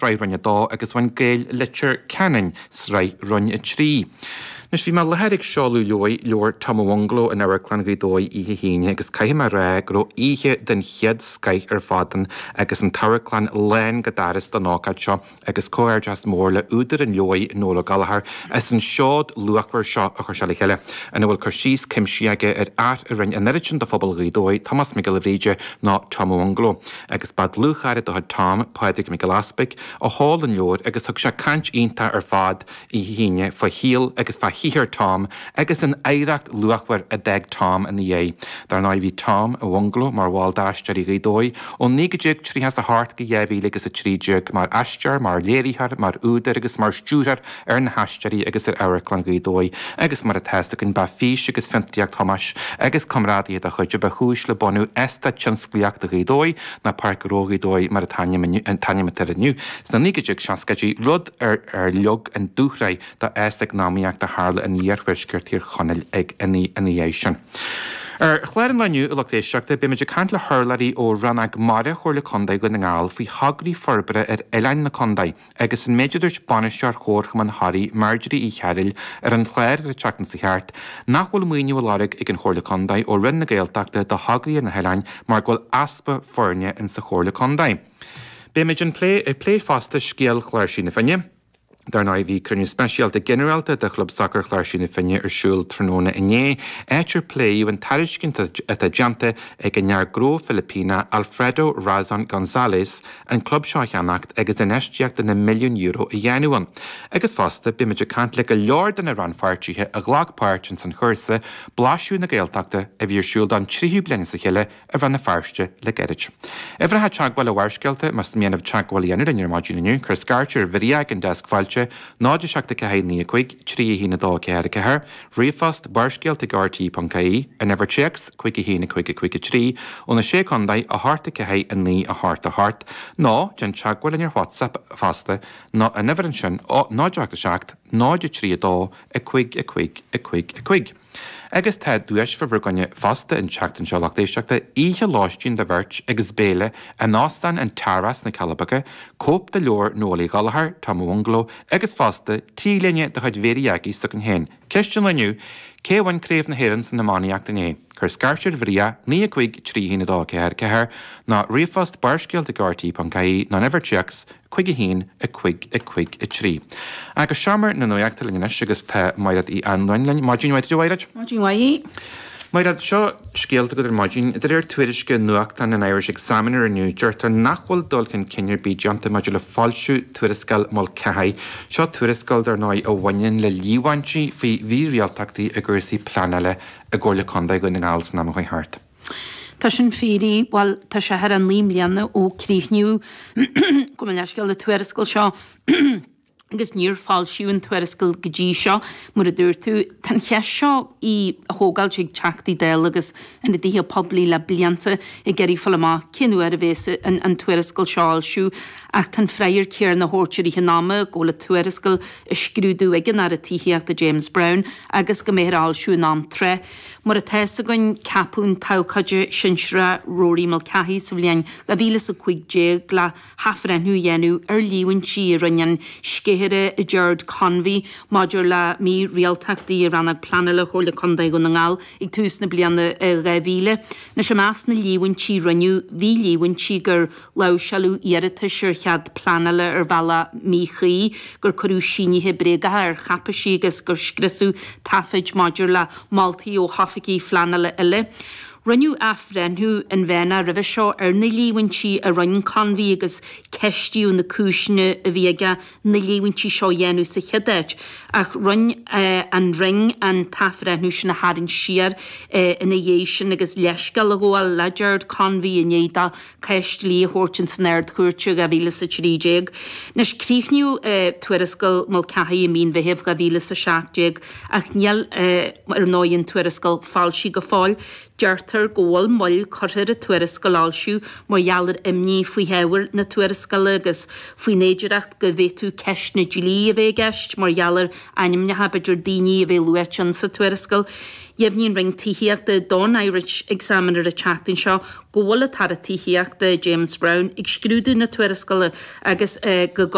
Sraith Roinn 2 agus bhain Gaeil Leitir Ceanainn Sraith Roinn 3. Anois bhí mé i láthair ag seoladh leabhair, leabhar Tom a Bhungalow in Amharclann Ghaoth Dobhair oíche hAoine agus caithfidh mé a rá go raibh oíche den chéad scoith ar fad ann agus an t-amharclann lán go doras don ócáid seo agus comhghairdeas mór le údar an leabhair Noel Ó Gallchóir as an seod luachmhar seo a chuir sé le chéile ina bhfuil cur síos cuimsitheach aige ar fhear a rinne an oiread sin do phobal Ghaoth Dobhair, Tomás Mac Giolla Bhríde nó Tom a Bhungalow. Agus ba dlúthchara de chuid Tom, Pádraig Mac Giolla Easpaig, a sheol an leabhar agus thug sé caint iontach ar fad oíche hAoine fá shaol agus fá shaothar Tom agus an oidhreacht luachmhar a d'fhág Tom ina dhiaidh. Dar ndóigh bhí Tom a Bhungalow mar bhall d'Aisteoirí Ghaoth Dobhair ó 1938 go 2013 mar aisteoir, mar léiritheoir, mar údar agus mar stiúrthóir ar na hAisteoirí agus ar Amharclann Ghaoth Dobhair agus mar atá fhios againn ba fís agus fiontraíocht Thomáis agus comrádaithe dá chuid a ba chúis le bunú Eastát Tionsclaíochta Ghaoth Dobhair nó Páirc Ghnó Ghaoth Dobhair mar an t-ainm atá air inniu sna 1960idí, rud ar ar leag an dúshraith do fhás eacnamaíochta a tharla in iarthuaisceart Thír Chonaill ag ina dhiaidh sin. Ar chlár an lae inniu, a lucht éisteachta, beimid ag caint le hurlabhraí ó Rannóg Mara Chomhairle Contae Dhún na nGall faoi thograí forbartha ar oileáin na contae. Agus an méid a dúirt bainisteoir Chomharchumann Thoraí, Marjorie Uí Chearúil, ar an chlár ar an tseachtain seo thart, nach bhfuil maoiniú á lorg ag an Chomhairle Contae ó Roinn na Gaeltachta do thograí ar na hoileáin mar go bhfuil easpa foirne in sa Chomhairle Contae. Beimid ag plé fosta scéal Chláirsigh na Finne. Dar ndóigh bhí cruinniú speisialta ginearálta de Chlub Sacair Chláirsigh na Finne ar siúl tráthnóna inné, áit ar pléadh an tairiscint atá déanta ag an fhear gnó Filipíneach Alfredo Razon Gonzalez an club seo a cheannacht agus infheistíocht de na milliúin euro a dhéanamh ann. Agus fosta, beimid ag caint le go leor de na rannpháirtithe a ghlac páirt ins an chúrsa Blaiseadh na Gaeltachta a bhí ar siúl don tríú bliain as a chéile i Rann na Feirste le gairid. Uimhreacha teagmhála Bharrscéalta, más mian libh teagmháil a dhéanamh linn ar maidin inniu, cuir scairt ar Mharia ag an deasc fáilte, 0 7 4 9 5 3 1 2 4 4, Ríomhphost, Barrscéalta ag rte.ie, an uimhir téacs, 5 1 5 5 3, ó na Sé Contae, 8 4 9 8 8, nó déan teagmháil linn ar WhatsApp fosta, nó an uimhir ansin, 0 8 7 0 3 2 5 5 5 5. Agus tá duais fá bhur gcoinne fosta an tseachtain seo, lucht éisteachta, oíche lóistín do bheirt agus béile in Óstán an Tara sna Cealla Beaga, cóip de leabhar Noel Uí Ghallchóir, Tom a Bhungalow, Agus fosta, T-léine de chuid Mhéirí Aggie s'againn féin. Ceist an lae inniu, Cé a bhain Craobh na hÉireann san iománaíocht inné? Cuir scairt ar Mharia, 9 5 3 1 2 4 4, nó ríomhphost barrscéalta ag rte.ie nó an uimhir téacs 5 1 5 5 3. Agus seomra na nuachta linn anois agus tá Mairéad Uí Anluain linn. Maidin mhaith duit a Mhairéad. Maidin mhaith. Mairéad, seo scéalta agat ar maidin. De réir tuairisce nuachtáin an Irish Examiner inniu, deirtear nach bhfuil dul chun cinn ar bith déanta maidir le foilsiú tuarascáil Mulcahy. Seo tuarascáil, dar ndóigh, a bhaineann le líomhaintí faoi mhírialtachtaí i gcúrsaí pleanála i gComhairle Contae Dhún na nGall san am a chuaigh thart. Tá sin fíor, bhuel, tá sé thar 9 mbliana ó críochnaíodh, gabh mo leithscéal, an tuarascáil seo. agus níor foilsíodh an tuarascáil go dtí seo, mar a dúirt tú. Tá an cheist seo á thógáilt ag Teachtaí Dála agus ionadaithe poiblí le blianta ag iarraidh fáil amach cén uair a bhéas an tuarascáil seo á fhoilsiú ach tá an freagra céanna á thabhairt i rith an ama go bhfuil an tuarascáil á scrúdú ag an Aire Tithíochta James Browne agus go mbeifear á fhoilsiú in am tráth. Mar atá fhios againn, ceapadh an t-abhcóide sinsearach Rory Mulcahy sa bhliain 2015 le hathbhreithniú a dhéanamh ar líomhaintí a rinne an sceithire Gerard Convey maidir le mírialtachtaí i Rannóg Pleanála Chomhairle Contae Dhún na nGall ag tús na bliana 2000. Anois i measc na líomhaintí a rinneadh bhí líomhaintí gur láimhseáladh iarratais ar chead pleanála ar bhealach míchuí, gur cuireadh sínithe bréagacha ar cháipéisí agus gur scriosadh taifid maidir le moltaí ó hoifigigh phleanála eile. Rinneadh athbhreithniú inmheánach roimhe seo ar na líomhaintí a rinne Convey agus ceistíodh na cúiseanna a bhí aige na líomhaintí seo a dhéanamh sa chéad áit, ach rinne an Roinn an t-athbhreithniú sin a tharraingt siar ina dhiaidh sin agus leithscéal a ghabháil le Gerard Convey i ndiaidh dó cás dlí a thabhairt ins an Ard-Chúirt i 2013. Anois, críochnaíodh tuarascáil Mulcahy i mí an Mheithimh 2017 ach níl, ar ndóigh, an tuarascáil foilsithe go fóill. Deirtear. Deirtear go bhfuil moill curtha ar an tuarascáil a fhoilsiú mar gheall ar imní faoi ábhar na tuarascála agus faoin fhéidireacht go bhféadfadh ceisteanna dlí a bheith i gceist mar gheall ar ainmneacha b'fhéidir daoine a bheith luaite in sa tuarascáil. Dheimhnigh an Roinn Tithíochta don Irish Examiner an tseachtain seo go bhfuil an tAire Tithíochta, James Browne, ag scrúdú na tuarascála agus go.